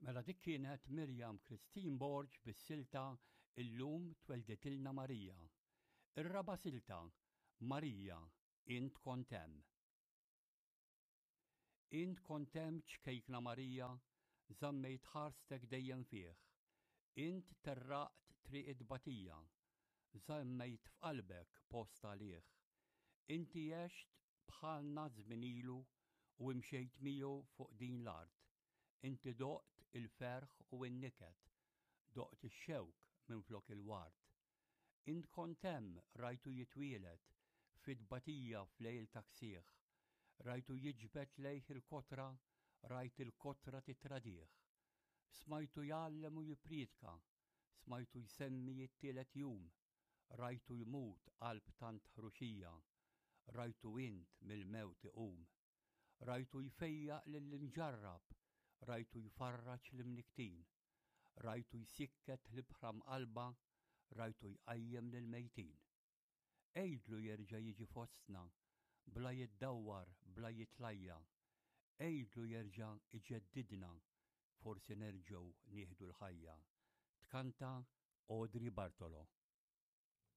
Mela dik kienet Miriam Christine Borg bis-silta Illum Twelditilna Marija. Ir-raba' silta, Marija, Int Kont Hemm. Int kont hemm ċkejkna Marija, żammejt ħarstek dejjem fih. Int terraqt triq it-tbatija, żammejt f'qalbek post għalih. Inti għext bħalna żmien ilu u imxejt miegħu fuq din l-art. Inti doqt il-ferħ u n-niket, doqt ix-xewk minflok il-ward. Int kont hemm, rajtu jitwieled, fit-tbatija f'lejl ta' ksieħ. Rajtu jiġbed lejh il-kotra, rajt il-kotra tittradih. Smajtu jgħallem u jippriedka, smajtu jsemmi t-tielet jum. Rajtu jmut qalb tant ħruxija, rajtu int mill-mewt iqum. Rajtu jfejjaq lill-imġarrab, rajtu jfarraġ l-imnikktin. Rajtu jsikket l-ibħra mqallba, rajtu jqajjem lill-mejtin. Għidlu jerġa' jiġi fostna, bla jiddawwar, bla jitlajja. Għidlu jerġa' iġeddidna, forsi nerġgħu nieħdu l-ħajja. Tkanta Audrey Bartolo.